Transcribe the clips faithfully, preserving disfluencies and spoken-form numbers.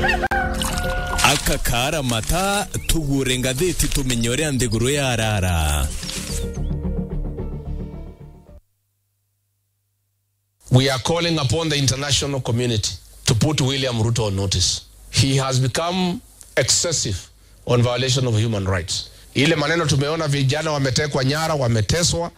Aka kaara mata, tugure ngathiti tumenye uria nthiguru yarara. We are calling upon the international community to put William Ruto on notice. He has become excessive on violation of human rights. Ile maneno tumeona, vijana wametekwa nyara, wameteswa,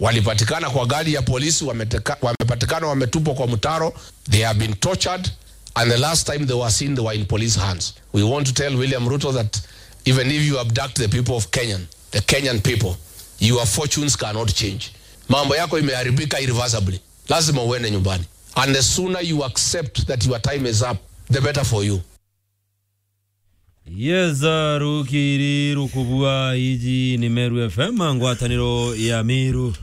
walipatikana kwa gari ya polisi, wameteka-, wamepatikana wametupwa kwa mtaro, they have been tortured, and the last time they were seen, they were in police hands. We want to tell William Ruto that even if you abduct the people of Kenyan, the Kenyan people, your fortunes cannot change. Mambo yako imeharibika irreversibly. Lazima uende nyumbani. And the sooner you accept that your time is up, the better for you. Yes, uh, rukiri rukubua, iji ni Meru F M, ngwataniro ya Meru.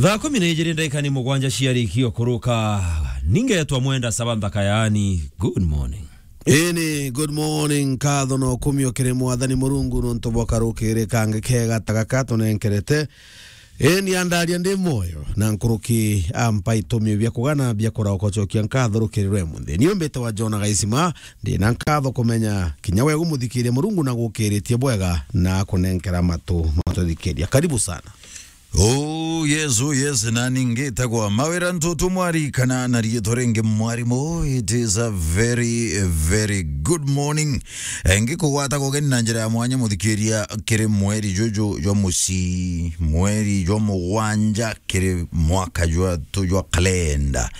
Thaa kumi na ijiri ndagika ni mugwanja ciarikio kuruka. Ningetwa Mwenda Saba Nthaka, yaani, good morning. Ini, good morning, nkatho na ukumio kiri Mwathani Murungu nontu bwa karukiri kangi kega ta gaka tunenkerete. Eni andaria ndi moyo, na nkuruki ampa itumio bia kugana bia kurauka ucokia nkatho rukiri rwe munthi. Ni umbite wa Jona Gaisima, ndi na nkatho kumenya kinya we gumuthikiria Murungu na gukiritie bwega na akunenkera matu matuthikiria. Karibu sana. Oh yes, oh yes, na ningitagwa Mawira Ntutu Mwari, kana na riitwa ringi Mwarimu. It is a very, very good morning. Eh, ngikugwata kugeni na njira ya mwanya, muthikiria, kiri mweri juju jwa muci, mweri jwa mugwanja, kiri mwaka jwa tu jwa kalenda.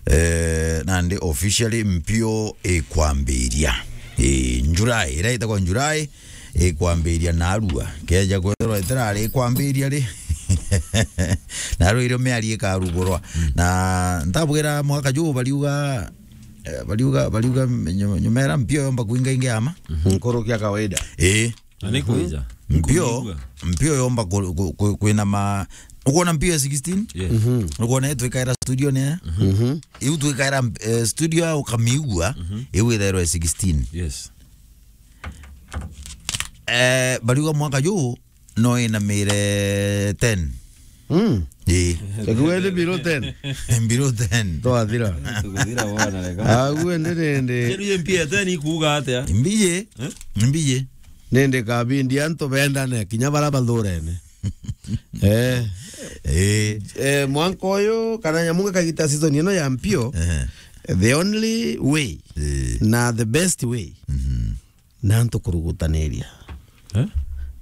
Eh, nandi officially mpio ikwambiria. Eh, July, ira itagwa July, ikwambiria narua. Keja kwethirwa itirari ikwambiria ri. Narua irio miari ikarugurwa. Mm. Na ntabwira mwaka juu bariuga, eh, bariuga, bariuga nyu-, nyumera mpio yomba kuinga ingi ama? Mhm. Nkuruki ya kawaida. Eh. Na ni kwija. Mpio, kumiigua. Mpio yomba ku-, ku-, ku-, kwina ma-, ukwona mpio ya sixteen? Yes. Mhm. Ukwona yetu ikaira studio ni ya? Mhm. Iu twikaira, eh, studio ya ukamiigua, mhm, iu ithairwa ya sixteen. Yes. Eh, bariuga mwaka juu no inamire ten. Mm. Ii. Takuwe ni below ten. Below ten. Twathira. Tukuthira wona reka. Aguo ndi, ndi, ndi. Kiri ye mpia ten ikuuga atia? Mbiye. Eh? Mbiye. Nindi kabindi antu bendane, kinya bara bathurene. Eh. Eh. Eh, mwanka uyu, kana nyamu kagita season ino ya mpio, eh, the only way, eh, na the best way, mhm, na antu kurugutaniria. Eh?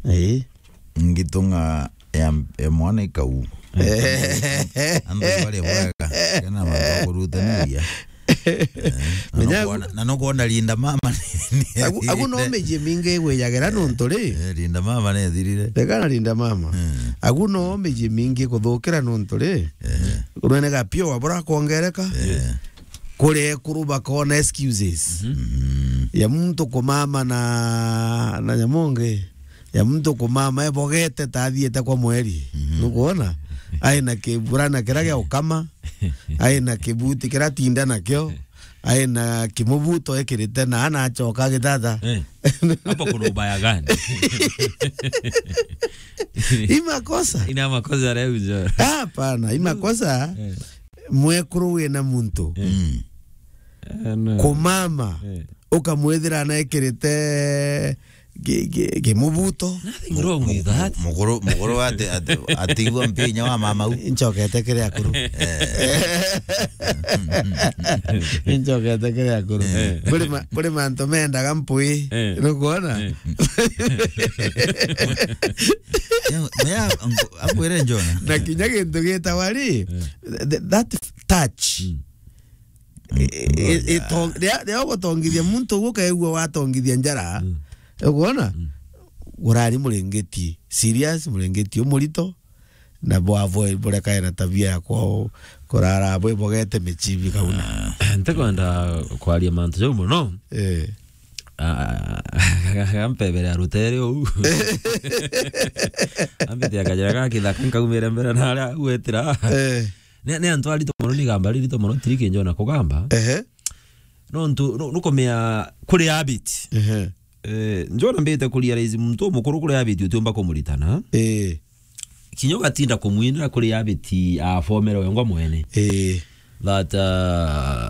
Eh. Ngitung'a ya, ya mwana ikau. Eh. Antu bari bwega. Kena mantu kurutaniria. Eh, na menya nukwona, na nukwona Linda Mama ni, ni agu, agu no ethirire. Miji mingi igwijagira nontu ri. Eh, Linda Mama ni ethirire. Reka na Linda Mama. Mm. Agu no miji mingi kuthukira nontu ri. Eh. Kunene gapio wabura kwongereka. Eh. Kuri ekuru bakona excuses. Mhm. Mm. Ya muntu kumama na, na nyamonge. Ya muntu kumama ebogete ta athiete kwa mweri. Mhm. Nukwona? Ai na kiburana kiria gia ukama. Ai na kibuti kiria tinda nakio. Ai na kimubuto ekirite na anachoka gitata. Eh. Hapo kuna ubaya gani? Hii makosa. Ina makosa leo jo. Hapana, hii makosa. Eh. Mwekuru wina muntu. Eh. Mm. Eh, no. Kumama. Eh. Ukamwithira anaikirite ki-, ki-, kimubuto. Nothing wrong with that. Mukuru, mukuru ati, ati, atigwa mpinya wa mama u. Nchokete kiri akuru. Eh. Nchokete kiri akuru. Eh. Kuri ma-, kuri mantu mendaga mpui. Eh. Nukwona? Eh. Ya, ya, angu-, akwire Jona. Na kinya gintu gitagwa ri, eh, th-, that touch. Mm. I-, i-, ito-, ria, ria ugutongithia muntu uguo ukaigua watongithia njara. Mm. Ukwona? Mm. Urari muringiti serious, muringiti umurito, na bwavo burekae na tabia ya kwao kurara bwibogete michibi kauna. Ah, ntikwenda kwaria mantu jau muno. Eh. Ah, ampebere arutere uu. Ambite akajira ga kithaka nkaumire mbere na aria agwetira. Eh. Ni, ni antu arito mono, ni igamba ririto mono, tiriki Jona kugamba. Ehe. Nontu, nu-, nukumea kuri habit. Ehe. Eh, Jona mbite ku realize muntu umukuru kuri habit utiumba kumuritana. Eh. Kinya ugatinda kumwinira kuri habit afomere wengwa mwene. Eh. That, uh,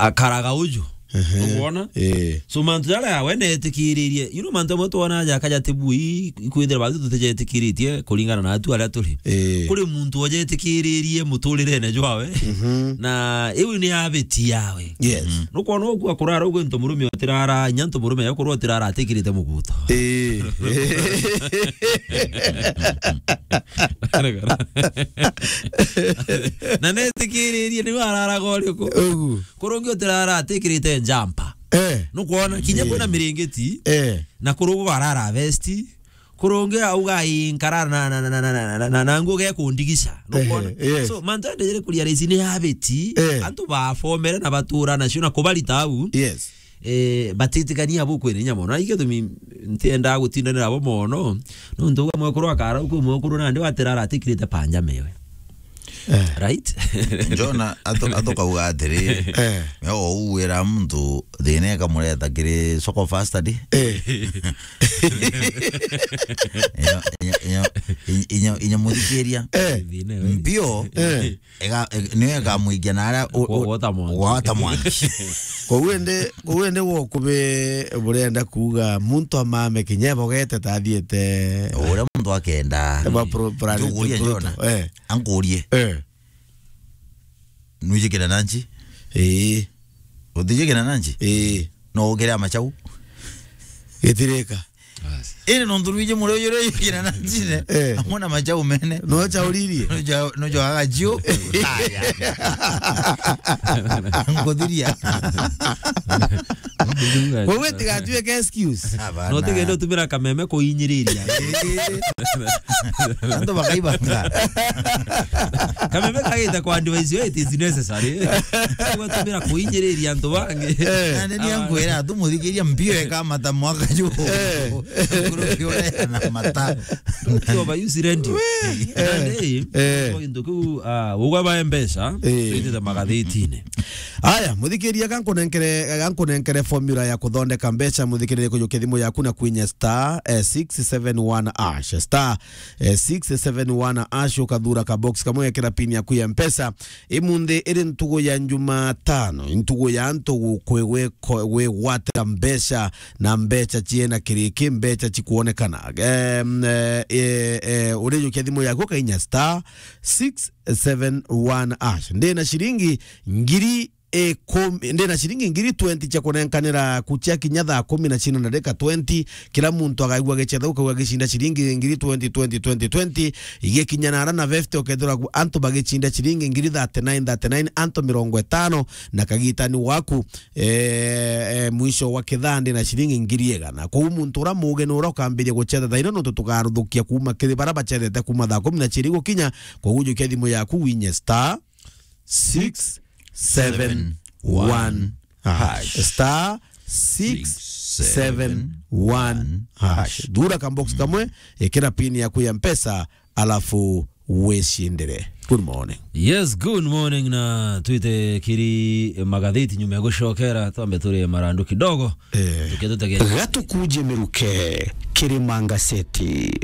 akaraga uju. Ehe. Nukwona? Eh. So, mantu jaria we netikiririe, you know, mantu amwe twona jaka jatibui, ikwithira batwi tutijetikiritie kuringana na atu aria turi. Eh. Kuri muntu ojetikiririe muturirene jwawe, mhm, na iu ni habit yawe. Yes. Mm. Nukwona uku akurara ugu ntu murume otirara, nya ntu murume yakurwa otirara atikirite muguto. Eh. Na netikiririe ni araraga uriku. Ugu. Kurungi utirara atikirite njampa. Eh. Nukwona kinya, eh, kwina miringiti. Eh. Na kurungi barara vesti. Kurungi auga, "Ii, nkara na, na, na nguo gekundigisha." Nukwona? Eh, eh. So, mantu ndejere kuria raisi ni habit. Eh. Antu bafomere na batura nacio na kubarita au. Yes. Eh, batitikania bukwirinya mono. Na ikio tumi ntiendaa gutindanira bo mono. Nontu uga mwekuru akara uku mwekuru nandi watirara atikirite panja mewe. Eh. Right? Jona, atu-, atukauga atiri, eh, me o uwira muntu thina ikamureta kiri soko fast di. Eh. Inya, inya, inya, inya, inya muthikiria. Eh. Mbio, eh, ega-, ega-, niyo igamuikia na aria u-, u-, wota mwangi. Wota mwangi. Kou indi, kou indi gwo kubi burenda kuuga muntu amame kinya ebogete tathiete. Uria muntu akenda. Eba pro-, plan-, njukuria brutal. Jona. Eh. Ankurie. Eh. Nwijikira nanchi? Ii. Utijikira nanchi? Ii. No ukire amachau? Gitirika. Bas. Iri nontu nwiji muri uyu uri ujikira nanchi ne? Eh. Amwe na machau mene. No chauririe? No cha-, no cha agachiu. Taya. Nkuthiria. Wewe tigatuike excuse. Hapana. No tigende utumira kameme kuinyiriria. Antu bakaibanga. Kameme kagita kwa advice yo, it is necessary. Gwatumira kuinyiriria antu bangi. Eh. Na ni ngwira tu muthikiria mbio eka mata mwaka ju. Eh. Kuruki ore na mata. Ukiwa ba use radio. Eh. Nandi, eh, kwa into kiu, ah, ugwa ba mpesa, eh, twitite magathitine. Aya, muthikiria, gankunenkere, gankunenkere formula ya kuthondeka mbeca, muthikiria, kujukia thimu yaku na kwinya star, eh, six seven one hash. Star, eh, six seven one hash, ukathura ka box kamwe, wekira pin yaku ya mpesa. Imunthi iri ntugu ya Jumatano, ntugu ya antu gu-, kwi-, gwi-, ko-, gwigwatira mbeca, na mbeca ciena kiriki, mbeca cikwonekana. Em, eh, eh, eh, urijukia thimu yaku, ukainya star six seven one hash. Ndina ciringi ngiri ikumi, ndina ciringi ngiri twenty cia kunenkanira kucia kinya thaa kumi na cina na ndagika twenty. Kila muntu agaigua gicetha, ukauga gicinda ciringi ngiri twenty, twenty, twenty, twenty. Igikinya na ara na fifty, ukethirwa ku-, antu bagicinda ciringi ngiri thirty-nine, thirty-nine, antu mirongo itano, na kagitani waku, eh, eh, mwisho wa kithandi na ciringi ngiri igana. Kwou muntu ura muge ni ura ukambiria gucetha thaino, nontu tukaruthukia kuuma kiri bara bacethete kuuma thaa kumi na ciiri gukinya. Kwou jukia thimu yaku winye star six seven one hash. Star six seven one hash. Thura ka box kamwe, ikira pin yaku ya mpesa, alafu wicindire. Good morning. Yes, good morning, na twite kiri magathiti nyuma ya gucokera, twambe turi marandu kidogo. Eh. Tukia tutegere. Gatukuje miruke, kiri mangaseti.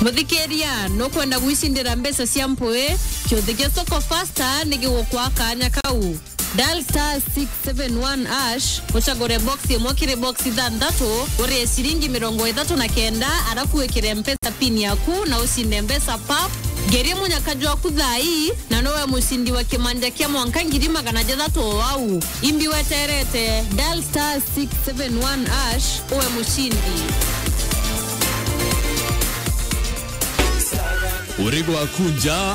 Muthikiria, nukwenda gwicindira mbeca cia mpui? Kiuthi kia Soko Fasta ni gigukwa kanya kau. Dial star six seven one hash, ucagure box imwe kiri box ithanthatu, urie ciringi mirongo ithatu na kenda, arafu wikire mpesa pin yaku na ucinde mbeca pap. Ngeria munyaka jwaku thaa ii, na nowe mucindi wa kimanja kia mwanka ngiri magana jathatu o au. Imbi weterete, dial star six seven one hash, uwe mucindi. Uri gwaku nja,